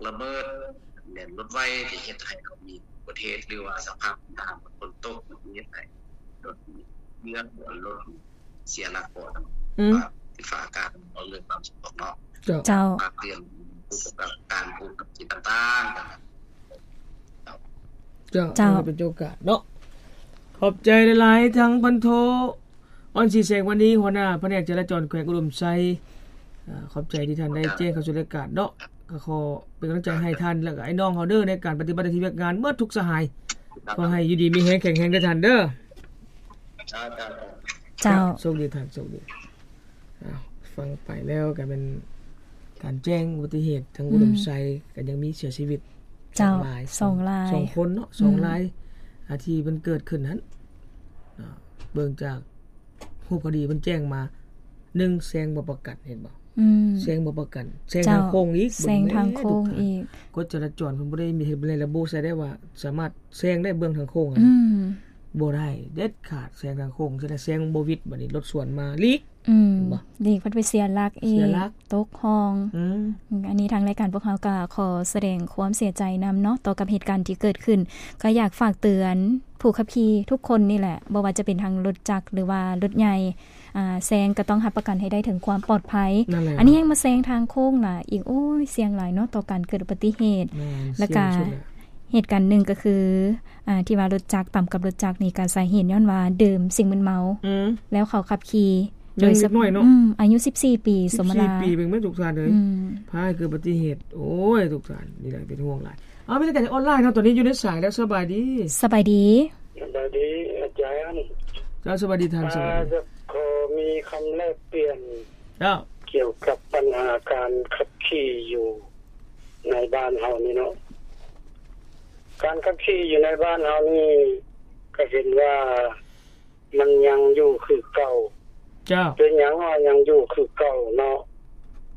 ລະເບີດ ແມ່ນລົດໄວ ທີ່ເຮັດໃຫ້ເຮົາມີອຸບັດຕິເຫດ ຫຼືວ່າສະພາບນ້ຳຝົນຕົກ ເຮັດໃຫ້ລົດເຫຼືອນ ລົດເສຍຫຼັກເກາະ ອືມ ຟ້າອາກາດ ເລື່ອງຄວາມສະຫງົບເນາະ. ເຈົ້າ ເຈົ້າ ຝາກເຕືອນຜູ້ປະກອບການ ຜູ້ປະກອບກິດຕ່າງໆ ເຈົ້າ ເຈົ້າ ເຈົ້າ ເປັນໂອກາດເນາະ. ຂອບໃຈຫຼາຍໆ ທັງພັນໂທ ອ່ອນສີແສງວັນນີ້ ຫົວໜ້າພະແນກຈະລາຈອນແຂວງອຸດົມໄຊ ອາ ຂອບໃຈທີ່ທ່ານໄດ້ແຈ້ງເຂົ້າສູ່ລາຍການເນາະ. ກໍຂໍເປັນກຳລັງໃຈໃຫ້ທ່ານ ແລະກໍອ້າຍນ້ອງເຮົາເດີ ໃນການປະຕິບັດໜ້າທີ່ວຽກງານໝົດທຸກສະຫາຍ. ເຈົ້າ ຂໍໃຫ້ຢູ່ດີມີແຮງ ແຂງແຮງເດີທ່ານເດີ. ເຈົ້າ ເຈົ້າ ໂຊກດີທ່ານ ໂຊກດີ. ອ້າວ ຟັງໄປແລ້ວກໍແມ່ນການແຈ້ງອຸບັດຕິເຫດທາງ ອືມ ອຸດົມໄຊ ກໍຍັງມີເສຍຊີວິດ ເຈົ້າ ສອງລາຍ ສອງລາຍ ສອງຄົນເນາະ ສອງລາຍ ອາ ທີ່ມັນເກີດຂຶ້ນຫັ້ນ ເບິ່ງຈາກຮູບຄະດີເພິ່ນແຈ້ງມາ ໜຶ່ງ ແຊງບໍ່ປະກັນ ເຫັນບໍ່? ອືມ ແຊງບໍ່ປະກັນ ແຊງທາງໂຄ້ງອີກ ເຈົ້າ ເບິ່ງແດ່ ແຊງທາງໂຄ້ງອີກ ກົດຈະລາຈອນເພິ່ນບໍ່ໄດ້ມີ ເຮັດໃນລະບົບໃສ່ໄດ້ວ່າ ສາມາດແຊງໄດ້ເບື້ອງທາງໂຄ້ງ ອືມ ບໍ່ໄດ້ເດັດຂາດ ແຊງທາງໂຄ້ງ ແຊງບໍ່ຫວິດ ບັດນີ້ລົດສວນມາຫຼີກ ອືມ ເຫັນບໍ່? ດີກພັດໄປເສຍຫຼັກອີກ ຕົກຮ່ອງ ອືມ ອັນນີ້ທາງລາຍການພວກເຮົາກໍຂໍສະແດງຄວາມເສຍໃຈນຳເນາະ ຕໍ່ກັບເຫດການທີ່ເກີດຂຶ້ນ. ກໍຢາກຝາກເຕືອນຜູ້ຂັບຂີ່ທຸກຄົນນີ້ແຫຼະ ບໍ່ວ່າຈະເປັນທັງລົດຈັກ ຫຼືວ່າລົດໃຫຍ່ ອາ ແຊງກໍຕ້ອງຮັບປະກັນໃຫ້ໄດ້ເຖິງຄວາມປອດໄພ. ອັນນີ້ຍັງມາແຊງທາງໂຄ້ງລະອີກ ໂອ້ຍ ສ່ຽງຫຼາຍເນາະ ຕໍ່ການເກີດອຸບັດຕິເຫດ. ແລ້ວກໍເຫດການໜຶ່ງກໍຄື ອາ ທີ່ວ່າລົດຈັກຕຳກັບລົດຈັກນີ້ ກໍສາເຫດຍ້ອນວ່າດື່ມສິ່ງມຶນເມົາ ອືມ ແລ້ວເຂົາຂັບຂີ່ ໂດຍສະເພາະ ອືມ ອາຍຸສິບສີ່ປີ ສົມມະລາ ສິບສີ່ປີ ເບິ່ງແມ່ນທຸກທ່ານເອີຍ ອືມ ພາໃຫ້ເກີດອຸບັດຕິເຫດ. ໂອ້ຍ ທຸກທ່ານ ນີ້ແຫຼະເປັນຫ່ວງຫຼາຍ. ເອົາ ມີສາຍອອນລາຍເນາະ ຕອນນີ້ຢູ່ໃນສາຍແລ້ວ ສະບາຍດີ ສະບາຍດີ ສະບາຍດີອາຈານ. ເຈົ້າ ສະບາຍດີທ່ານ ສະບາຍດີ. ຢາກຂໍມີຄຳແລກປ່ຽນ ເຈົ້າ ກ່ຽວກັບບັນຫາການຂັບຂີ່ຢູ່ໃນບ້ານເຮົານີ້ເນາະ. ການຂັບຂີ່ຢູ່ໃນບ້ານເຮົານີ້ ກໍເຫັນວ່າມັນຍັງຢູ່ຄືເກົ່າ. ເຈົ້າ ເປັນຫຍັງວ່າຍັງຢູ່ຄືເກົ່າເນາະ?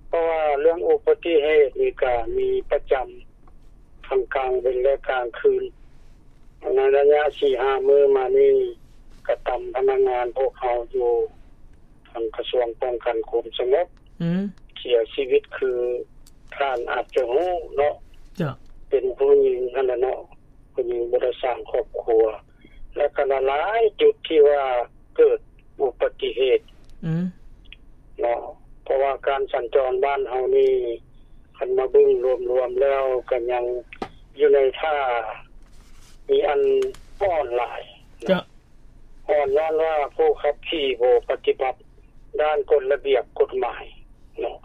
ເພາະວ່າເລື່ອງອຸບັດຕິເຫດນີ້ກໍມີປະຈຳ ທັງກາງເວັນ ແລະ ກາງຄືນ. ໃນໄລຍະສີ່ຫ້າມື້ມານີ້ ກະຕຳພະນັກງານພວກເຮົາຢູ່ທາງກະຊວງປ້ອງກັນຄວາມສະຫງົບ ອືມ ເສຍຊີວິດ ຄືທ່ານອາດຈະຮູ້ເນາະ. ເຈົ້າ ເປັນຜູ້ຍິງຫັ້ນແຫຼະເນາະ ຜູ້ຍິງບໍ່ໄດ້ສ້າງຄອບຄົວ ແລະ ກໍຫຼາຍໆຈຸດທີ່ວ່າເກີດອຸບັດຕິເຫດ ອືມ ເນາະ. ເພາະວ່າການສັນຈອນບ້ານເຮົານີ້ ຄັນມາເບິ່ງລວມໆແລ້ວ ກໍຍັງຢູ່ໃນທ່າມີອັນອ່ອນຫຼາຍ. ເຈົ້າ ອ່ອນຍ້ອນວ່າຜູ້ຂັບຂີ່ບໍ່ປະຕິບັດດ້ານກົດລະບຽບກົດໝາຍເນາະ.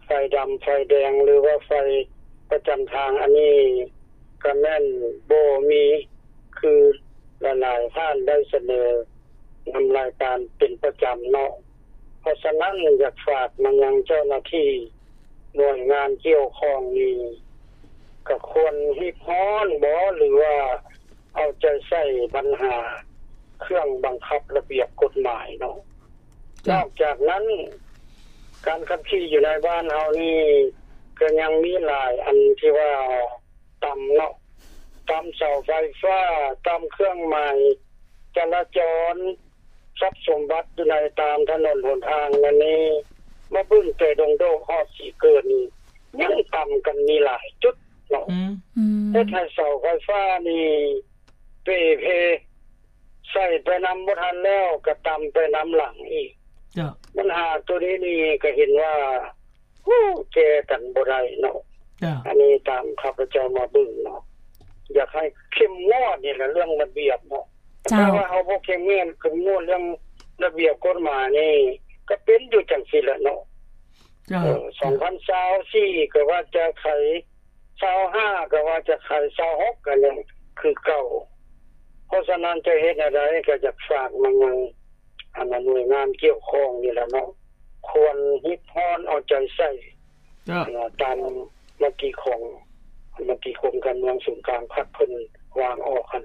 ໄຟດຳໄຟແດງ ຫຼືວ່າໄຟປະຈຳທາງ ອັນນີ້ກໍແມ່ນບໍ່ມີ ຄືຫຼາຍໆທ່ານໄດ້ສະເໜີນຳລາຍການເປັນປະຈຳເນາະ. ເພາະສະນັ້ນ ຢາກຝາກມາຍັງເຈົ້າໜ້າທີ່ໜ່ວຍງານກ່ຽວຂ້ອງນີ້ ກໍຄວນຮີບຮ້ອນບໍ ຫຼືວ່າເອົາໃຈໃສ່ບັນຫາເຄື່ອງບັງຄັບລະບຽບກົດໝາຍເນາະ. ນອກຈາກນັ້ນ ການຂັບຂີ່ຢູ່ໃນບ້ານເຮົານີ້ ກໍຍັງມີຫຼາຍອັນທີ່ວ່າ ຕຳເນາະ ຕຳເສົາໄຟຟ້າ ຕຳເຄື່ອງໝາຍຈະລາຈອນ ຊັບສົມບັດຢູ່ໃນຕາມຖະໜົນຫົນທາງນັ້ນນີ້ ມາເບິ່ງແຕ່ດົງໂດກຮອດສີເກີນນີ້ ຍັງຕຳກັນມີຫຼາຍຈຸດເນາະ. ອືມ ເຮັດໃຫ້ເສົາໄຟຟ້ານີ້ເປ່ເພ ໃສ່ໄປນຳບໍ່ທັນແລ້ວ ກໍຕຳໄປນຳຫຼັງອີກ. ເຈົ້າ ບັນຫາໂຕນີ້ນີ້ກໍເຫັນວ່າ ຮູ້ແກ່ກັນບໍ່ໄດ້ເນາະ. ເຈົ້າ ອັນນີ້ຕາມຂ້າພະເຈົ້າມາເບິ່ງເນາະ ຢາກໃຫ້ເຂັ້ມງວດນີ້ແຫຼະ ເລື່ອງລະບຽບເນາະ. ເຈົ້າ ຖ້າວ່າເຮົາບໍ່ເຂັ້ມງວດ ເຂັ້ມງວດເລື່ອງລະບຽບກົດໝາຍນີ້ ກໍເປັນຢູ່ຈັ່ງຊີ້ແຫຼະເນາະ. ເຈົ້າ ເອີ ສອງພັນຊາວສີ່ ກໍວ່າຈະໄຂ ຊາວຫ້າ ກໍວ່າຈະໄຂ ຊາວຫົກ ກໍຍັງຄືເກົ່າ. ເພາະສະນັ້ນ ຈະເຮັດແນວໃດ ກໍຢາກຝາກມາຍັງ ອັນໜ່ວຍງານກ່ຽວຂ້ອງນີ້ແຫຼະເນາະ ຄວນຮີບຮ້ອນເອົາໃຈໃສ່ ເຈົ້າ ຕາມມະຕິຂອງ ມະຕິກົມການເມືອງສູນກາງພັກເພິ່ນວາງອອກຫັ້ນ.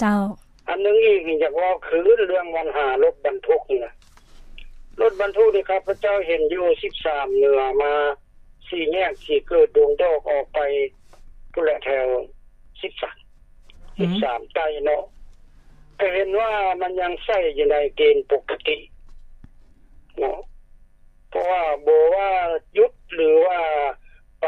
ເຈົ້າ ອັນໜຶ່ງອີກນີ້ ຢາກເວົ້າຄືນເລື່ອງບັນຫາລົດບັນທຸກນີ້ນະ. ລົດບັນທຸກນີ້ ຂ້າພະເຈົ້າເຫັນຢູ່ສິບສາມເໜືອມາ ສີ່ແຍກສີເກີດ ດົງດອກ ອອກໄປພຸ້ນແຫຼະ ແຖວສິບສາມ ອືມ ສິບສາມໃຕ້ເນາະ ກໍເຫັນວ່າມັນຍັງໃຊ້ຢູ່ໃນເກນປົກກະຕິເນາະ. ເພາະວ່າບໍ່ວ່າຢຸດ ຫຼືວ່າໄປ